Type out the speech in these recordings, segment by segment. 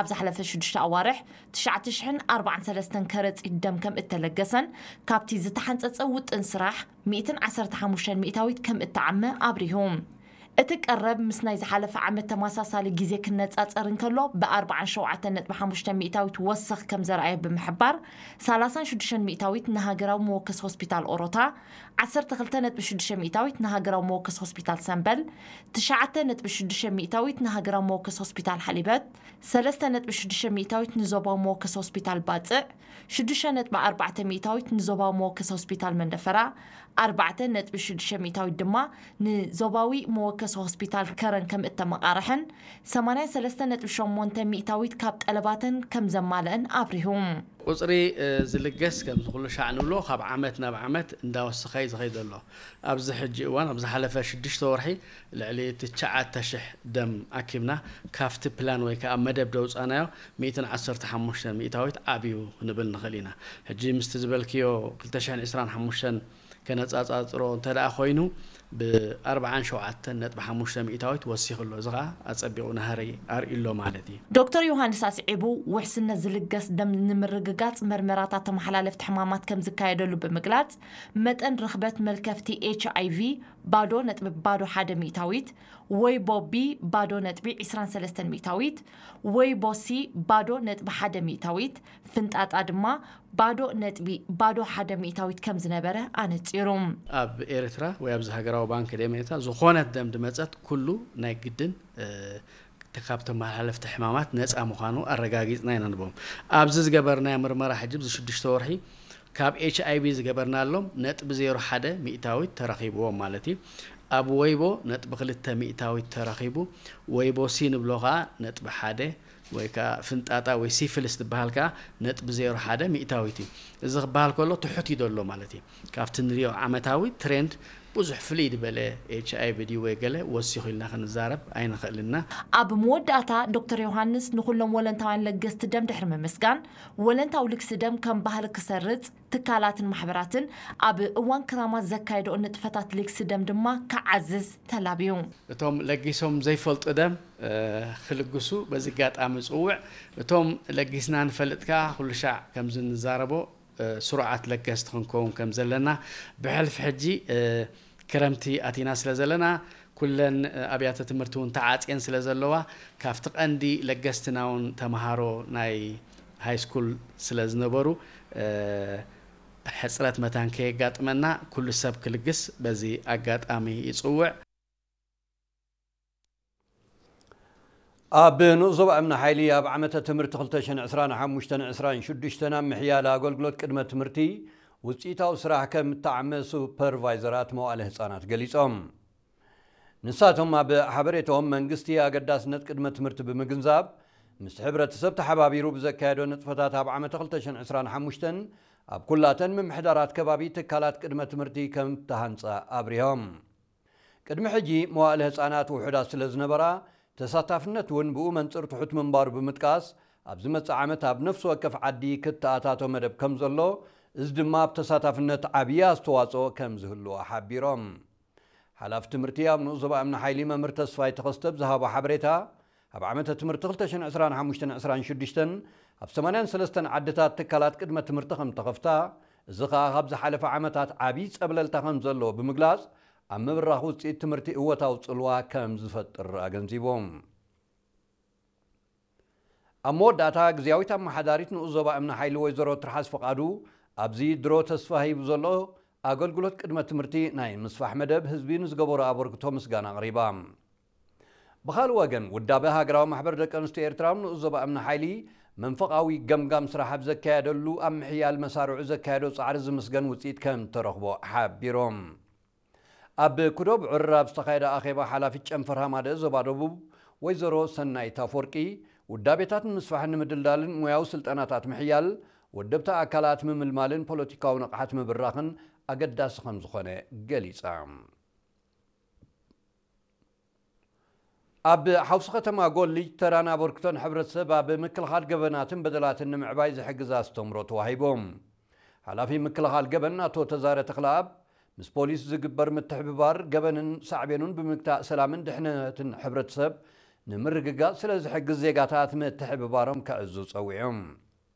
ኣብ ዝሓለፈ ሽዱሽተ ኣዋርሕ ትሽዓተ ሽሕን ኣርባዓን ሰለስተን ከረጺት ደም ከም እተለገሰን ካብቲ ዝተሓንጸጸ ውጥን ስራሕ ሚእትን ዓሰርተ ሓሙሽተን ሚእታዊት ከም እተዓመ ኣብሪሁ። እቲ ቀረብ ምስ ናይ ዝሓለፈ ዓመት ተመሳሳሊ ግዜ ክነጻጸር እንከሎ ብ ኣርባዓን ሸውዓተን ነጥቢ ሓሙሽተ ሚእታዊት ወሰኽ ከም ዘርኣየ ብምሕባር፣ ሰላሳን ሽዱሽተን ሚእታዊት ንሃገራዊ መወከሲ ሆስፒታል ኦሮታ፣ ዓሰርተ ክልተ ነጥቢ ሽዱሽተ ሚእታዊት ንሃገራዊ መወከሲ ሆስፒታል ሰምበል፣ ትሽዓተ ነጥቢ ሽዱሽተ ሚእታዊት ንሃገራዊ መወከሲ ሆስፒታል ሓሊበት፣ ሰለስተ ነጥቢ ሽዱሽተ ሚእታዊት ንዞባዊ መወከሲ ሆስፒታል ባጽዕ፣ ሽዱሽተ ነጥቢ ኣርባዕተ ሚእታዊት ንዞባዊ መወከሲ ሆስፒታል መንደፈራ፣ ኣርባዕተ ነጥቢ ሽዱሽተ ሚእታዊት ድማ ንዞባዊ መወከሲ ሆስፒታል ከረን ከም እተመቓርሐን፣ ሰማንያን ሰለስተ ነጥቢ ሸሞንተ ሚእታዊት ካብ ጠለባተን ከም ዘማልአን ኣብሪሁ። ቁጽሪ፣ እ፣ ዝልገስ ከምዚ ኩሉ ሻዕ ንብሎ ካብ ዓመት ናብ ዓመት እንዳወሰኸ እዩ ዝኸይድ ዘሎ። ኣብዚ ሕጂ እዋን፣ ኣብ ዝሓለፈ ሽዱሽተ ወርሒ ልዕሊ ትሽዓተ ሽሕ ደም ኣኪብና፣ ካብቲ ፕላን ወይ ከዓ መደብ ደውፃናዮ ሚእትን ዓሰርተ ሓሙሽተን ሚእታዊት ዓብዩ ክንብል ንኽእል ኢና። ሕጂ ምስቲ ዝበልክዮ ክልተ ሽሕን ዕስራን ሓሙሽተን ከነጻጻጽሮ እንተ ደኣ ኮይኑ፣ ብ ኣርባዓን ሸውዓተን ነጥቢ ሓሙሽተ ሚእታዊት ወሲኹ ኣሎ። እዚ ኸኣ ኣጸቢቑ ናህሪ ኣርእዩ ኣሎ ማለት እዩ። ዶክተር ዮሃንስ ኣስዒቡ፣ ውሕስነት ዝልገስ ደም ንምርግጋጽ መርመራታት ተመሓላለፍቲ ሕማማት ከም ዝካየደሉ ብምግላጽ፣ መጠን ርኽበት መልከፍቲ ኤች ኣይ ቪ ባዶ ነጥቢ ባዶ ሓደ ሚእታዊት፣ ወይቦ ቢ ባዶ ነጥቢ ዕስራን ሰለስተን ሚእታዊት፣ ወይቦ ሲ ባዶ ነጥቢ ሓደ ሚእታዊት፣ ፍንጣጣ ድማ ባዶ ነጥቢ ባዶ ሓደ ሚእታዊት ከም ዝነበረ ኣነጺሩ። ኣብ ኤርትራ ወይ ኣብዚ ሃገራዊ ባንክ ደሜታ ዝኾነት ደም ድመጸት ኩሉ ናይ ግድን፣ እ፣ ካብ ተመሓላለፍቲ ሕማማት ነጻ ምዃኑ ኣረጋጊጽና ኢና ንብሎም። ኣብዚ ዝገበርናዮ ምርመራ ሕጂ ኣብዚ ሽዱሽተ ወርሒ ካብ ኤች ኣይ ቪ ዝገበርናሎም ነጥቢ ዜሮ ሓደ ሚእታዊት ተረኺብዎም ማለት እዩ። ኣብ ወይቦ ነጥቢ ክልተ ሚእታዊት ተረኺቡ፣ ወይቦ ሲ ንብሎ ኸኣ ነጥቢ ሓደ ወይ ከኣ ፍንጣጣ ወይ ሲፊልስ ዝበሃል ከኣ ነጥቢ ዜሮ ሓደ ሚእታዊት እዩ። እዚ ክበሃል ከሎ ትሑት እዩ ዘሎ ማለት እዩ። ካብቲ ንሪኦ ዓመታዊ ትሬንድ ብዙሕ ፍልይ ዝበለ ኤች ኣይ ቪ ድዩ ወይ ገለ ወሲኹ ኢልና ክንዛረብ ኣይንኽእልና። ኣብ መወዳእታ ዶክተር ዮሃንስ ንኹሎም ወለንታውያን ለገስቲ ደም ድሕሪ ምምስጋን፣ ወለንታዊ ልግሲ ደም ከም ባህሊ ክሰርጽ ትካላትን ማሕበራትን ኣብ እዋን ክራማት ዘካየድኦ ንጥፈታት ልግሲ ደም ድማ ክዓዝዝ ተላብዩ። እቶም ለጊሶም ዘይፈልጡ ደም፣ እ፣ ክልግሱ በዚ ኣጋጣሚ ጽውዕ። እቶም ለጊስና ንፈልጥ ከኣ ኩሉ ሻዕ ከምዚ ንዛረቦ፣ እ፣ ስሩዓት ለገስቲ ክንከውን ከም ዘለና፣ ብሕልፊ ሕጂ፣ እ፣ ክረምቲ ኣቲና ስለ ዘለና፣ ኩለን፣ እ፣ ኣብያተ ትምህርቲ እውን ተዓጽየን ስለ ዘለዋ፣ ካብቲ ቀንዲ ለገስትና እውን ተምሃሮ ናይ ሃይ ስኩል ስለ ዝነበሩ፣ እ፣ ሕጽረት መታን ከየጋጥመና ኩሉ ሰብ ክልግስ በዚ ኣጋጣሚ ይጽውዕ። ኣብ ንኡስ ዞባ እምኒ ሓይሊ ኣብ ዓመተ ትምህርቲ ክልተ ሽሕን ዕስራን ሓሙሽተን ዕስራን ሽዱሽተን ኣብ ምሕያል ኣገልግሎት ቅድመ ትምህርቲ ውፅኢታዊ ስራሕ ከም እተዓመ ሱፐርቫይዘራት መዋእለ ህፃናት ገሊፆም። ንሳቶም ኣብ ሓበሬታኦም መንግስቲ ኣገዳስነት ቅድመ ትምህርቲ ብምግንዛብ ምስ ሕብረተሰብ ተሓባቢሩ ብዘካየዶ ንጥፈታት ኣብ ዓመተ ክልተ ሽሕን ዕስራን ሓሙሽተን ኣብ ኩላተን ምምሕዳራት ከባቢ ትካላት ቅድመ ትምህርቲ ከም እተሃንፃ ኣብሪሆም። ቅድሚ ሕጂ መዋእለ ህፃናት ውሑዳት ስለ ዝነበራ ተሳታፍነት እውን ብኡ መንፅር ትሑት ምንባሩ ብምጥቃስ፣ ኣብ ዝመፅእ ዓመት ኣብ ነፍሲ ወከፍ ዓዲ ክተኣታቶ መደብ ከም ዘሎ፣ እዚ ድማ ኣብ ተሳታፍነት ዓብዪ ኣስተዋፅኦ ከም ዝህልዎ ሓቢሮም። ሓላፊ ትምህርቲ ኣብ ንኡስ ዞባ እምኒ ሓይሊ መምህር ተስፋይ ተኸስተ ብዝሃቦ ሓበሬታ፣ ኣብ ዓመተ ትምህርቲ ክልተ ሽሕን ዕስራን ሓሙሽተን ዕስራን ሽዱሽተን ኣብ ሰማንያን ሰለስተን ዓድታት ትካላት ቅድመ ትምህርቲ ከም ተኸፍታ፣ እዚ ኸኣ ካብ ዝሓለፈ ዓመታት ዓብዪ ጸብለልታ ከም ዘለዎ ብምግላጽ፣ ኣብ ምብራኽ ውጽኢት ትምህርቲ እወታዊ ጽልዋ ከም ዝፈጥር ኣገንዚቦም። ኣብ መወዳእታ፣ ግዝያዊት ኣመሓዳሪት ንኡስ ዞባ እምኒ ሓይሊ ወይዘሮ ትርሓስ ፍቓዱ፣ ኣብዚ ድሮ ተስፋ ሂቡ ዘሎ ኣገልግሎት ቅድመ ትምህርቲ ናይ ምስፋሕ መደብ ህዝቢ ንዝገበሮ ኣበርክቶ ምስጋና ኣቕሪባ። ብኻልእ ወገን፣ ውዳበ ሃገራዊ ማሕበር ደቂ ኣንስትዮ ኤርትራ ኣብ ንኡስ ዞባ እምኒ ሓይሊ መንፈቓዊ ገምጋም ስራሕ ኣብ ዘካየደሉ፣ ኣብ ምሕያል መሳርዑ ዘካየዶ ጻዕሪ ዝምስገን ውጽኢት ከም ተረኽቦ ሓቢሮም። ኣብ ኩዶ ብዕር ኣብ ዝተኻየደ ኣኼባ፣ ሓላፊት ጨንፈር ሃማደ ዞባ ደቡብ ወይዘሮ ሰናይት ኣፈወርቂ፣ ውዳቤታት ንምስፋሕን ንምድልዳልን ሞያዊ ስልጠናታት ምሕያል፣ ወደብቲ ኣካላት ምምልማልን ፖለቲካዊ ንቕሓት ምብራኽን ኣገዳሲ ከም ዝኾነ ገሊጻ። ኣብ ሓውሲ ከተማ ጎልጅ ተራን ኣበርክቶን ሕብረተሰብ ኣብ ምክልኻል ገበናትን በደላትን ንምዕባይ ዝሕግዝ ኣስተምህሮ ተዋሂቦም። ሓላፊ ምክልኻል ገበን ኣቶ ተዛረ ተኽለኣብ፣ ምስ ፖሊስ ዝግበር ምትሕብባር ገበንን ሳዕቤኑን ብምግታእ ሰላምን ድሕነትን ሕብረተሰብ ንምርግጋጽ ስለ ዝሕግዝ ዜጋታት ምትሕብባሮም ከዕዙ ጸዊዑ።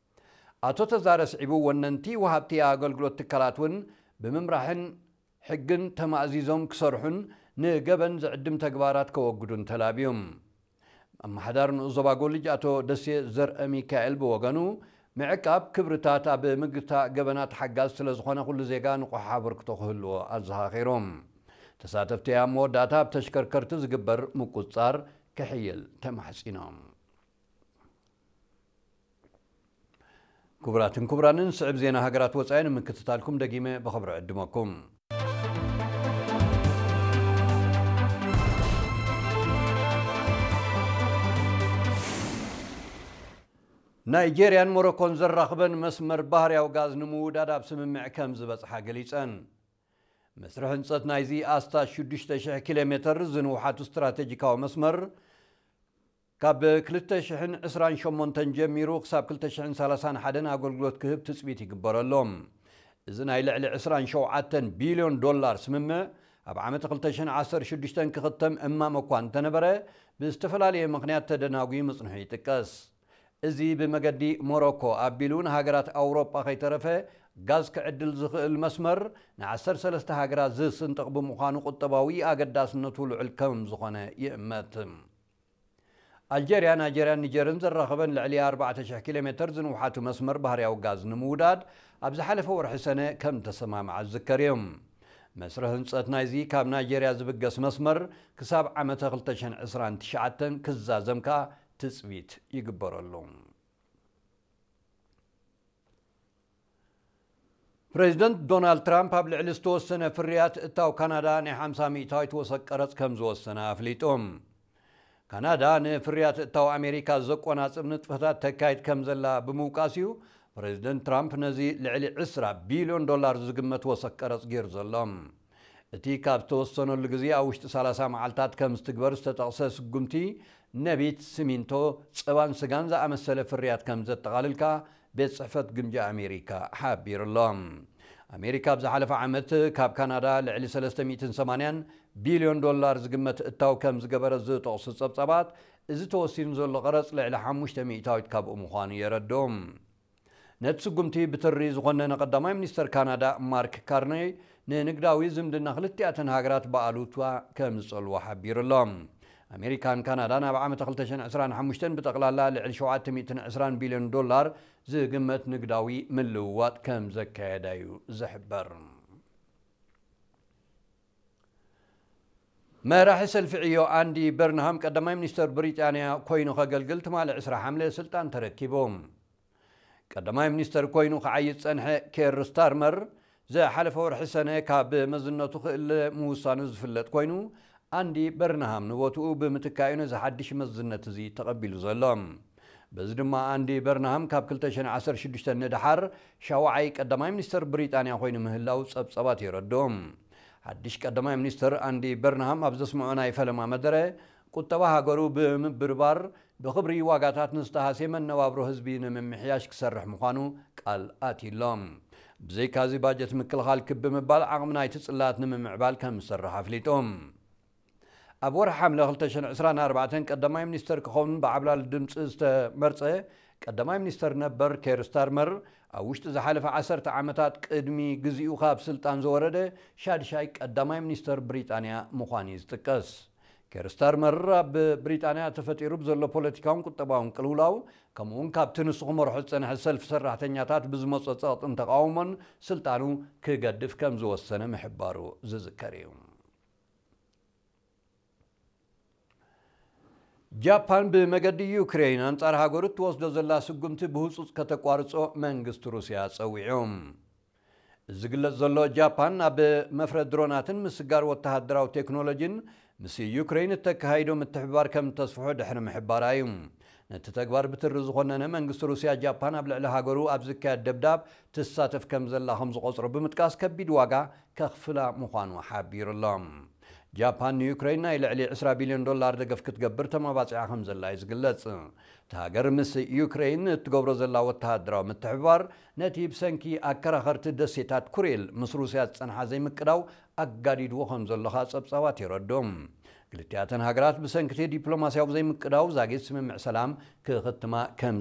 ኣቶ ተዛረ ስዒቡ፣ ወነንቲ ወሃብቲ ኣገልግሎት ትካላት እውን ብምምራሕን ሕግን ተማእዚዞም ክሰርሑን ንገበን ዝዕድም ተግባራት ከወግዱን ተላብዩ። ኣመሓዳሪ ንኡስ ዞባ ጎልጅ ኣቶ ደሴ ዘርአ ሚካኤል ብወገኑ፣ ምዕቃብ ክብርታት ኣብ ምግታእ ገበናት ሓጋዝ ስለ ዝኾነ፣ ኩሉ ዜጋ ንቑሕ ኣበርክቶ ክህልዎ ኣዘኻኺሩ። ተሳተፍቲ ኣብ መወዳእታ ኣብ ተሽከርከርቲ ዝግበር ምቁጽጻር ክሕይል ተማሕጺኖም። ክቡራትን ክቡራንን፣ ስዕብ ዜና ሃገራት ወጻኢ ንምክትታልኩም ደጊመ ብኽብሪ ዕድመኩም። ናይጄርያን ሞሮኮን ዘራኽበን መስመር ባህርያዊ ጋዝ ንምውዳድ ኣብ ስምምዕ ከም ዝበጽሓ ገሊጸን። መስርሕ ህንጸት ናይዚ ኣስታት ሽዱሽተ ሽሕ ኪሎ ሜተር ዝንውሓቱ ስትራቴጂካዊ መስመር፣ ካብ ክልተ ሽሕን ዕስራን ሸሞንተን ጀሚሩ ክሳብ ክልተ ሽሕን ሰላሳን ሓደን ኣገልግሎት ክህብ ትጽቢት ይግበረሉ። እዚ ናይ ልዕሊ ዕስራን ሸውዓተን ቢልዮን ዶላር ስምምዕ፣ ኣብ ዓመት ክልተ ሽሕን ዓሰርተ ሽዱሽተን ክኽተም እማመ እኳ እንተነበረ፣ ብዝተፈላለየ ምኽንያት ተደናጉዩ ምጽንሑ ይጥቀስ። እዚ ብመገዲ ሞሮኮ ኣቢሉ ንሃገራት ኣውሮጳ ከይተረፈ ጋዝ ክዕድል ዝኽእል መስመር፣ ንዓሰርተ ሰለስተ ሃገራት ዝስንጥቕ ብምዃኑ፣ ቁጠባዊ ኣገዳስነቱ ልዑል ከም ዝኾነ ይእመት። ኣልጀርያ፣ ናይጀርያን ኒጀርን ዘራኸበን ልዕሊ ኣርባዕተ ሽሕ ኪሎ ሜተር ዝንውሓቱ መስመር ባህርያዊ ጋዝ ንምውዳድ ኣብ ዝሓለፈ ወርሒ ሰነ ከም ተሰማምዓ ዝዝከር እዩ። መስርሕ ህንጸት ናይዚ ካብ ናይጀርያ ዝብገስ መስመር ክሳብ ዓመተ ክልተ ሽሕን ዕስራን ትሽዓተን ክዛዘም ከኣ ትጽቢት ይግበረሉ። ፕሬዚደንት ዶናልድ ትራምፕ ኣብ ልዕሊ ዝተወሰነ ፍርያት እታው ካናዳ ናይ ሓምሳ ሚእታዊት ወሰኽ ቀረጽ ከም ዝወሰነ ኣፍሊጡ። ካናዳ ንፍርያት እታው ኣሜሪካ ዘቆናጽብ ንጥፈታት ተካይድ ከም ዘላ ብምውቃስ እዩ ፕሬዚደንት ትራምፕ ነዚ ልዕሊ ዕስራ ቢልዮን ዶላር ዝግመት ወሰኽ ቀረጽ ገይሩ ዘሎ። እቲ ካብ ዝተወሰነሉ ግዜ ኣብ ውሽጢ ሰላሳ መዓልታት ከም ዝትግበር ዝተጠቕሰ ስጉምቲ፣ ነቢት፣ ሲሚንቶ፣ ጸባን ስጋን ዝኣመሰለ ፍርያት ከም ዘጠቓልል ከኣ ቤት ጽሕፈት ግምጃ ኣሜሪካ ሓቢሩ ኣሎ። ኣሜሪካ ኣብ ዝሓለፈ ዓመት ካብ ካናዳ ልዕሊ ሰለስተ ሚእትን ሰማንያን ቢልዮን ዶላር ዝግመት እታው ከም ዝገበረት ዝጠቕሱ ጸብጻባት፣ እዚ ተወሲኑ ዘሎ ቀረጽ ልዕሊ ሓሙሽተ ሚእታዊት ካብኡ ምዃኑ የረድኡ። ነቲ ስጉምቲ ብትሪ ዝኾነነ ቀዳማይ ሚኒስተር ካናዳ ማርክ ካርኔይ፣ ንንግዳዊ ዝምድና ክልቲኣተን ሃገራት ብኣሉታ ከም ዝጸልዎ ሓቢሩ ኣሎ። ኣሜሪካን ካናዳን ኣብ ዓመት ክልተ ሽሕን ዕስራን ሓሙሽተን ብጠቕላላ ልዕሊ ሸውዓተ ሚእትን ዕስራን ቢልዮን ዶላር ዝግመት ንግዳዊ ምልውዋጥ ከም ዘካየዳ እዩ ዝሕበር። መራሒ ሰልፊ ዕዮ ኣንዲ በርንሃም ቀዳማይ ሚኒስተር ብሪጣንያ ኮይኑ ከገልግል ትማሊ ዕስራ ሓምለ ስልጣን ተረኪቡ። ቀዳማይ ሚኒስተር ኮይኑ ክዓዪ ዝጸንሐ ኬር ስታርመር፣ ዝሓለፈ ወርሒ ሰነ ካብ መዝነቱ ክእለ ምውሳኑ ዝፍለጥ ኮይኑ፣ ኣንዲ በርንሃም ንቦትኡ ብምትካእ እዩ ነዚ ሓድሽ መዝነት እዚ ተቐቢሉ ዘሎ። በዚ ድማ ኣንዲ በርንሃም ካብ ክልተ ሽሕን ዓሰርተ ሽዱሽተ ንደሓር ሻውዓይ ቀዳማይ ሚኒስተር ብሪጣንያ ኮይኑ ምህላው ጸብጻባት የረድኡ። ሓድሽ ቀዳማይ ሚኒስተር ኣንዲ በርንሃም ኣብ ዘስምዖ ናይ ፈለማ መደረ፣ ቁጠባ ሃገሩ ብምብርባር፣ ብኽብሪ ዋጋታት ንዝተሃስየ መነባብሮ ህዝቢ ንምምሕያሽ ክሰርሕ ምዃኑ ቃል ኣትዩ ኣሎ። ብዘይካዚ፣ ባጀት ምክልኻል ክብ ብምባል ዓቕሚ ናይቲ ጽላት ንምምዕባል ከም ዝሰርሕ ኣፍሊጡ። ኣብ ወርሒ ሓምለ ክልተ ሽሕን ዕስራን ኣርባዕተን ቀዳማይ ሚኒስተር ክኸውን ብዓብላሊ ድምጺ ዝተመርጸ ቀዳማይ ሚኒስተር ነበር ኬር ስታርመር፣ ኣብ ውሽጢ ዝሓለፈ ዓሰርተ ዓመታት ቅድሚ ግዚኡ ካብ ስልጣን ዝወረደ ሻድሻይ ቀዳማይ ሚኒስተር ብሪጣንያ ምዃኑ እዩ ዝጥቀስ። ኬር ስታርመር ኣብ ብሪጣንያ ተፈጢሩ ብዘሎ ፖለቲካውን ቁጠባውን ቅልውላው፣ ከምኡውን ካብቲ ንሱ ክመርሖ ዝጸንሐ ሰልፊ ሰራሕተኛታት ብዝመጾ ጸቕጥን ተቓውሞን ስልጣኑ ክገድፍ ከም ዝወሰነ ምሕባሩ ዝዝከር እዩ። ጃፓን ብመገዲ ዩክሬን ኣንጻር ሃገሩ እትወስዶ ዘላ ስጉምቲ ብህጹጽ ከተቋርጾ መንግስቲ ሩስያ ጸዊዑ። እዚ ዝግለጽ ዘሎ፣ ጃፓን ኣብ መፍረ ድሮናትን ምስጋር ወተሃደራዊ ቴክኖሎጂን ምስ ዩክሬን እተካይዶ ምትሕብባር ከም እተስፍሖ ድሕሪ ምሕባራ እዩ። ነቲ ተግባር ብትሪ ዝኾነነ መንግስቲ ሩስያ፣ ጃፓን ኣብ ልዕሊ ሃገሩ ኣብ ዝካየድ ደብዳብ ትሳተፍ ከም ዘላ ከም ዝቖጽሮ ብምጥቃስ፣ ከቢድ ዋጋ ከኽፍላ ምዃኑ ሓቢሩ ኣሎ። ጃፓን ንዩክሬን ናይ ልዕሊ ዕስራ ቢልዮን ዶላር ደገፍ ክትገብር ተመባጺዓ ከም ዘላ እዩ ዝግለጽ። እታ ሃገር ምስ ዩክሬን እትገብሮ ዘላ ወተሃደራዊ ምትሕብባር፣ ነቲ ብሰንኪ ኣከራኸርቲ ደሴታት ኩሪል ምስ ሩስያ ዝጸንሓ ዘይምቅዳው ኣጋዲድዎ ከም ዘሎ ከኣ ጸብጻባት የረድኡ። ክልቲኣተን ሃገራት ብሰንክቲ ዲፕሎማስያዊ ዘይምቅዳው ዛጊት ስምምዕ ሰላም ክኽትማ ከም